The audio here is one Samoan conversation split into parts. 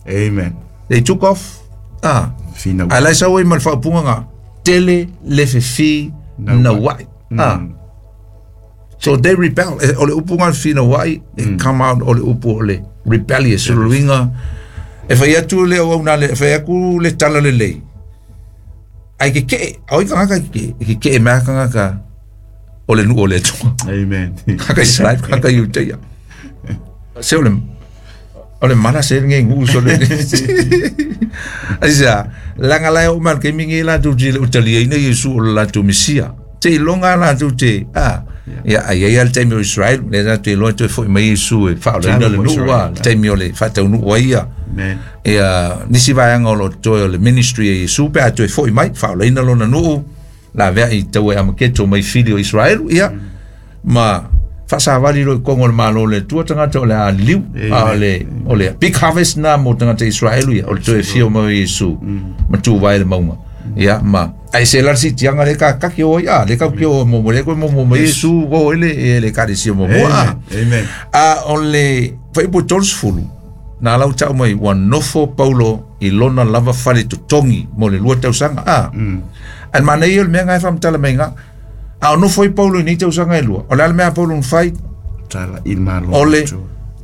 Amen. They took off. Ah. Fina. Ae lai sau ai ma le faaupuga ga tele le fefi nauai. Ah. So they rebel. O le upu ga le finauai e come out o le upu o le rebellious o le uiga e fai atu le auauna le fai aku le tala lelei. Ai ke ke oi kangaka ke ke ke mea kangaka o le nuu o le Atua. Amen. Kaka Israel, kaka Iutea. Se o le mana se nge ngu so le. Aisa, langa lai o mal ke mingi la tu ti le utalia ina Yesu o la tu Mesia. Te longa la tu te ah. Ya ai ai al taimi o Israel, le la te lo te foi mai Yesu e fa le le nu wa, taimi o le fa tau nu wa ia. Amen. Ia nisi vaega o lo toe o le ministry e Iesu pe a toe fo'i mai faaolaina lona nuu la vea i tau e amaketo mai fili o Israelu ia ma faasavali lo i kogo o le malo o le Atua tagata o le a liliu a o le big harvest na mo tagata Israelu ia o le toe fio mai o Iesu ma tu vai le mauga ia ma ai se la sitiaga le kakaki o ia le kau o mo mo le ko mo mo mo Iesu o ele e le kalesia mo mo a. Amen. A o le fuaiupu 30 na lau tau mai ua nofo Paulo i lona lava fale totogi mo le 2 tausaga a. Ae manaia o le mea gae faamatala mai ga a o nofo ai Paulo i nei tausaga e lua o le a le mea a Paulo na fai? Tala i malo. O le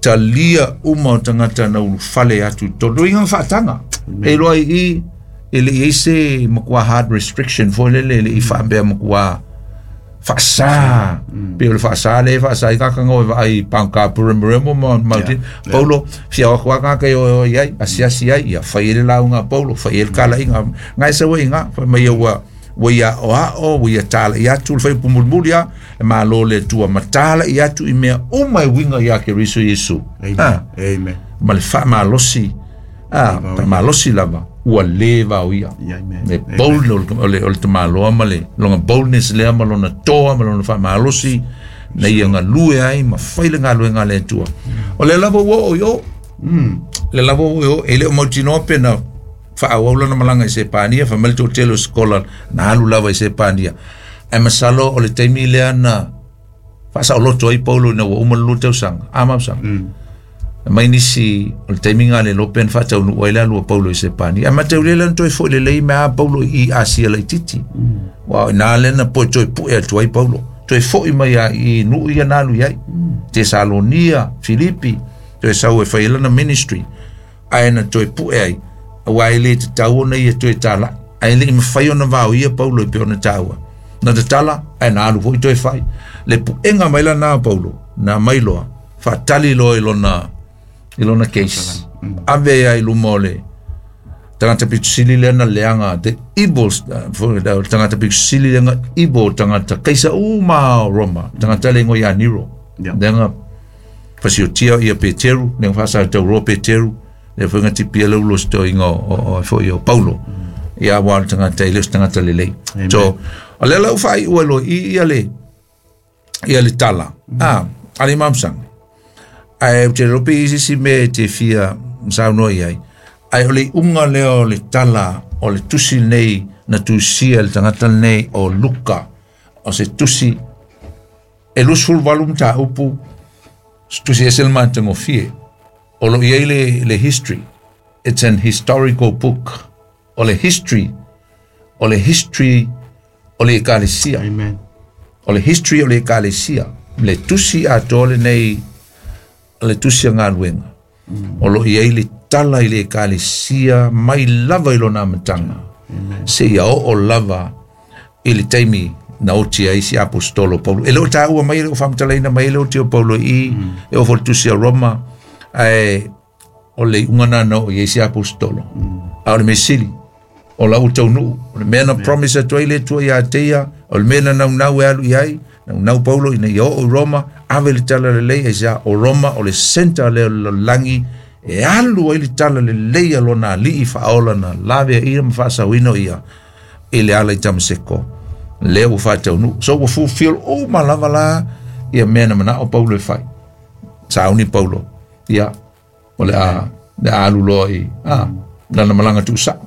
talia uma o tagata na ulufale atu i totonu iga faataga e iloa i e le i ai se matua hard restriction foi lele e le i faapea matua faasā pe o le faasā le faasā i kakaga o e vaai pangka puremeremo ma mauti Paulo fia o kwa ka o i ai asiasi ai ia fai ele lauga a Paulo fai ele kalaiga ngai sa uiga fai mai ua ua ia o a o ua ia tala i atu le fai pumulimuli a e malo le Atua ma tala i atu i mea uma e uiga ia Keriso Iesu. Amen. Ah, Amen. ma le faamalosi a faamalosi lava ua lē vaoia. Yeah, amen. Le bold o le tamaloa ma le lona boldness lea ma lona toa ma lona faamalosi na ia galue ai ma fai le galuega a le Atua. O le lava ua oo i o le lava ua oo i o e le o mautinoa pe na faaauau lana malaga i Sepania fai mai le toatele o sekola na alu lava i Sepania ae masalo o le taimi lea na faasaoloto ai Paulo ina ua uma le 2 tausaga a mausaga mai nisi o le taimi nga le lope na faataunuu ai le alu a Paulo i Sepania ae mataulia lea na toe fo'i lelei mea a Paulo i Asia laititi ua ina lea na poe toe pu'e atu ai Paulo toe fo'i mai a i nuu ia na alu i ai Tesalonia Filipi toe sau e fai ai lana ministry ae na toe pu'e ai aua e lē tatau ona ia toe tala'i ae le'i mafai ona vaoia Paulo i pe ona taua na tatala ae na alu fo'i toe fai le pu'ega mai lana a Paulo na mai loa faatali loa i lona case ave ai i luma o le tagata pitusili lea na leaga the evil tagata pitusili lea evil tagata kaisa uma o Roma tagata le igoa ia Nero leaga fasiotia ia Peteru le faasatauroa Peteru le foi tipia le ulo stoinga o foi o Paulo ia wa le tagata i le o se tagata lelei. So o le lau faaiua loa i ia le tala a ale mamsanga ae ou te lope i sisi mea e te fia saunoa i ai ae o le iuga lea o le tala o le tusi nei na tusia le tagata lenei o Luka o se tusi e 28 mataupu se tusi ese le matagofie o lo i ai le history. It's an historical book o le history o le history o le ekalesia. Amen. O le history o le ekalesia le tusi atoa lenei o le tusi a galuega o lo i ai le tala i le ekalesia mai lava i lona amataga seia oo lava i le taimi na oti ai si apostolo Paulo e le o taua mai e le o faamatalaina mai e le oti o Paulo i e oo foi le tusi a Roma ae o le iuga na na oo i ai si apostolo a o le mesili o lau taunuu o le mea na promise atu ai le Atua ia te ia o le mea na naunau e alu i ai naunau Paulo ina ia oo i Roma ave le tala lelei aisea o Roma o le center lea o le lalolagi e alu ai le tala lelei a lona alii faaola na lave ia ma faasauina o ia i le ala i Tamaseko lea ua faataunuu so ua fulfill uma lava la ia mea na manao Paulo e fai sauni Paulo ia o le a alu loa i a lana malaga tuusa'o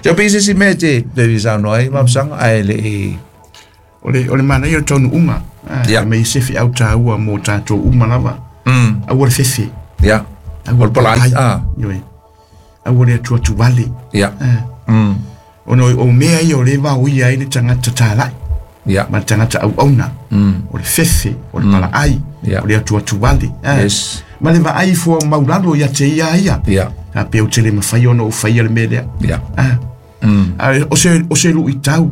so pe se si mea te te saunoa ai mapsaga ae le i O le manaia o taunuuga. Ah, me se fi au tāua mō tātou uma lava. Aua le fefe. O le palaai, ah. Ioe. Aua le atuatu vale. Ia. Ah. Ona o mea ia o le vaoia ai le tagata talai. Ia. Ma le tagata auauna. O le fefe, o le palaai, Ia. o le atuatu vale. Ah. Yes. Ma le vaai fua maulalo ia te ia ia. Ia. A pe ou te le mafai ona ou faia le mea lea. Ia. Ah. A, o se luitau,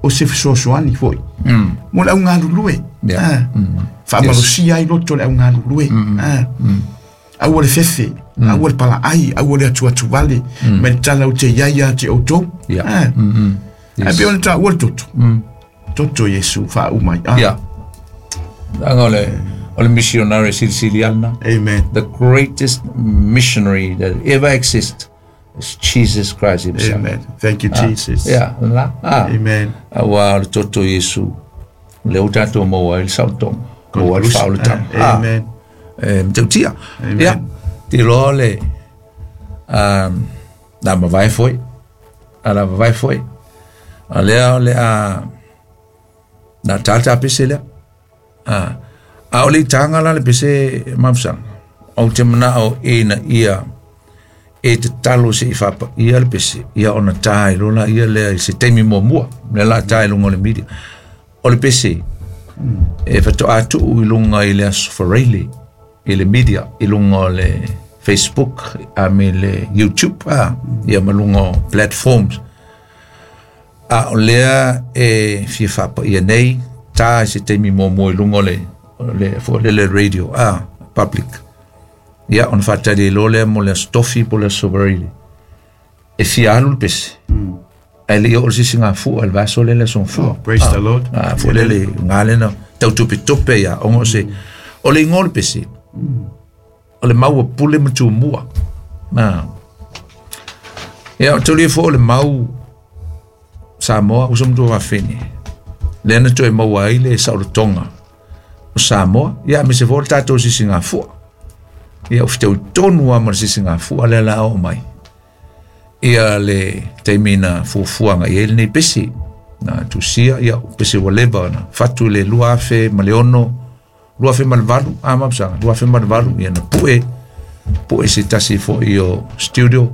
o se fesoasoani foi. Mo le augalulue. Ia. Ah. Faamalosia ai loto le augalulue. Ah. Aua le fefe, aua le palaai, aua le atuatu vale, ma le tala o te iai ia te outou. Ia. Ah. Ae pei ona taua le toto. Toto Iesu faauma ai. Ah. Ia. Aga o le missionary silisili alana. Amen. The greatest missionary that ever exists is Jesus Christ himself. Amen. Thank you, Jesus. Ia, la. Ah. Amen. Aua o le toto Iesu. Le o tatou maua ai le saolotoga. Maua ai le faaolataga. Ah, Amen. E matautia. Amen. Ia, te iloa le na mavae foi. A la mavae foi. A lea o le a na tālā pese lea. A o le itaga la le pese mafusaga. Ou te manao e na ia e te talo se i whapa ia le pese. Ia ona tā i lola ia lea i se taimi muamua. Le la tā i lunga o le media. O le pese e whato atu i lunga i le aso Faraile i le media i lunga o le Facebook a me le YouTube a ia ma lunga o platforms. A o lea e fia whapa ia nei tā i se taimi muamua i lunga o le le radio a public. Ia ona whātari i lea mo le aso tofi po le aso Faraile. E fia alu le pese. Ai le ia o le sisi ngā fua, le vaso le le son fua. Oh, praise the Lord. Ah, fua le le ngā lena, tau tupe tupe ia, ongo se, o le ingo le pese, o le maua pule ma tūmua. Nā. Ia, o tuli fo o le mau Samoa, usa mtua wawhene. Le ana toe maua ai le saolotoga o Samoa, ia me se fo le tātou sisi ngā fua. Ia, o whitau tonu a ma le sisi ngā fua le la o mai. Ia le taimi na fuafuaga i ai lenei pese na tusia ia o pese ua leva na fatu i le 2006 2008 a mapusaga 2008 ia na pu'e pu'e se tasi fo'i o studio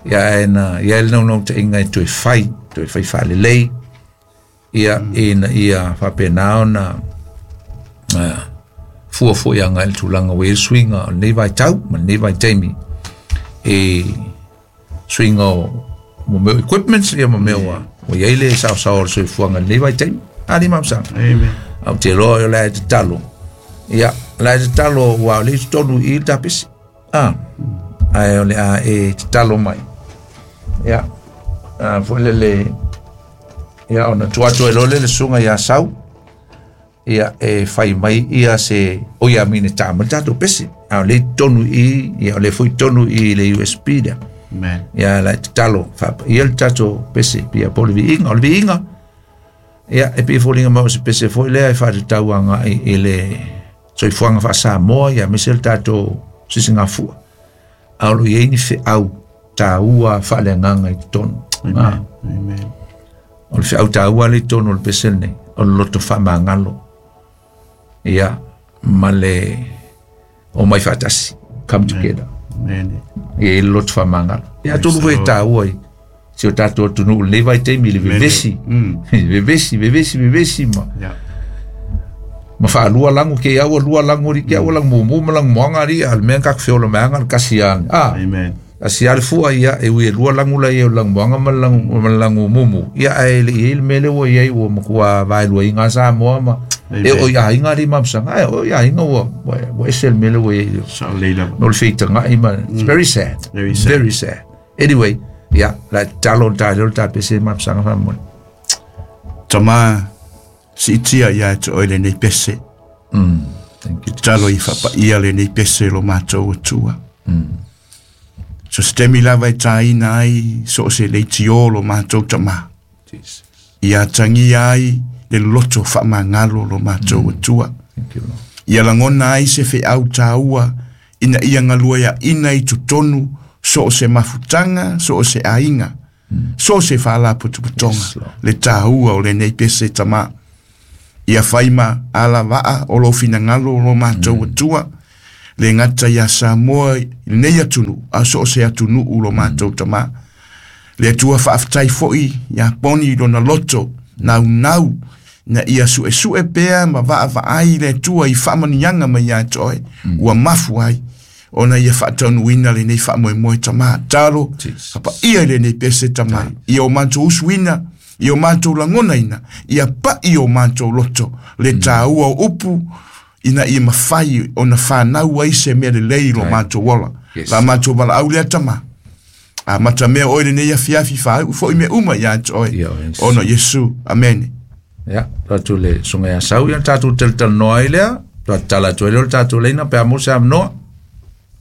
ia ae na ia ai le naunautaiga e toe fai faalelei ia ina ia faapenā ona fuafua agai i le tulaga ua i ai le suiga o lenei vaitau ma lenei vaitaimi e suiga o mo mea equipments ia ma mea ua iai le saosao o le soifuaga i lenei vaitaimi ali mapusaga. Amen. Au te loa o le ae tatalo. Ia, le ae tatalo ua o le tonu i le tapesi. Ah, ae o le a e tatalo mai. Ia, foi le ia ona atu e lole le suga ia sau. Ia e fai mai ia se o ia mine tā ma le tātou pese. A o le tonu i, ia o le foi tonu i le USB lea. Amen. Ia la tatalo ia le tātou pese pia po le viiga o le viiga. Ia e pei foliga mai o se pese foi lea e faatatauaga i le soifuaga faasamoa ia aemaise le tatou sisigafua. A o loo iai ni feau tāua faaleagaga i totonu. Amen. Amen. O le feau tāua le i totonu o le pese lenei o le loto faamagalo. Ia ma le o mai faatasi come together. Amen. Ia i le loto faamagalo. Ia atonu foi e tāua i si o tatou atunuu lenei vaitaimi i le vevesi. Vevesi, vevesi, vevesi ma. Yeah. Ma whaalua langu ke aua lua langu ri ke aua langu mumu ma langu moanga ri al mea kak feola meanga le kasi a. Ah, Amen. asi a le fua ia e ui e lua langu la ia o langu moanga ma langu mumu. Ia ae le i le mele ua ia ua makua vai lua i ngā Samoa ma. Amen. E o ia inga ri mamsanga. Ai o ia inga ua ua ese le mele ua ia. Sa leila. No le whitanga i ma. It's very sad. Very sad. Very sad. Anyway, ia la talo talo ta pese mamsanga whamone. Tama siitia ia e te oe lenei pese. Thank you. Talo i whapaia lenei pese lo mātou atua. So se temi lava e tāina ai so o se leiti o lo mātou tama. Jesus. Ia tangia ai le loto whaamangalo lo mātou atua. Thank you, Lord. Ia langona ai se wheau tāua ina ia ngalua ia ina i tutonu so o se mafutanga, so o se ainga, so o se whaalaputuputonga. Yes, Lord. Le tāua o lenei pese tama. Ia whaima ala waa o lo finangalo o lo mātou atua. Le gata iā Samoa i lenei atunuu, a so o se atunuu lo matou Tamā. Le Atua faafetai foi iā Poni i lona loto naunau ina ia suesue pea ma vaavaai le Atua i faamanuiaga mai ia te oe, ua mafu ai ona ia faataunuuina lenei faamoemoe Tamā. Talo, papaia i lenei pese Tamā, ia o matou usuina, ia o matou lagonaina, ia pai o matou loto le taua o upu, ina ia mafai ona fanau ai se mea lelei i lo matou ola. La matou valaau lea Tamā. Amata mea oe lenei afiafi faaiu foi mea uma ia te oe. Ona o Iesu. Amene. Ia, tatou le susuga ia Sau, ia tatou talatalanoa ai lea, tatala atu ai lea o le tatou laina pe a maua se avanoa.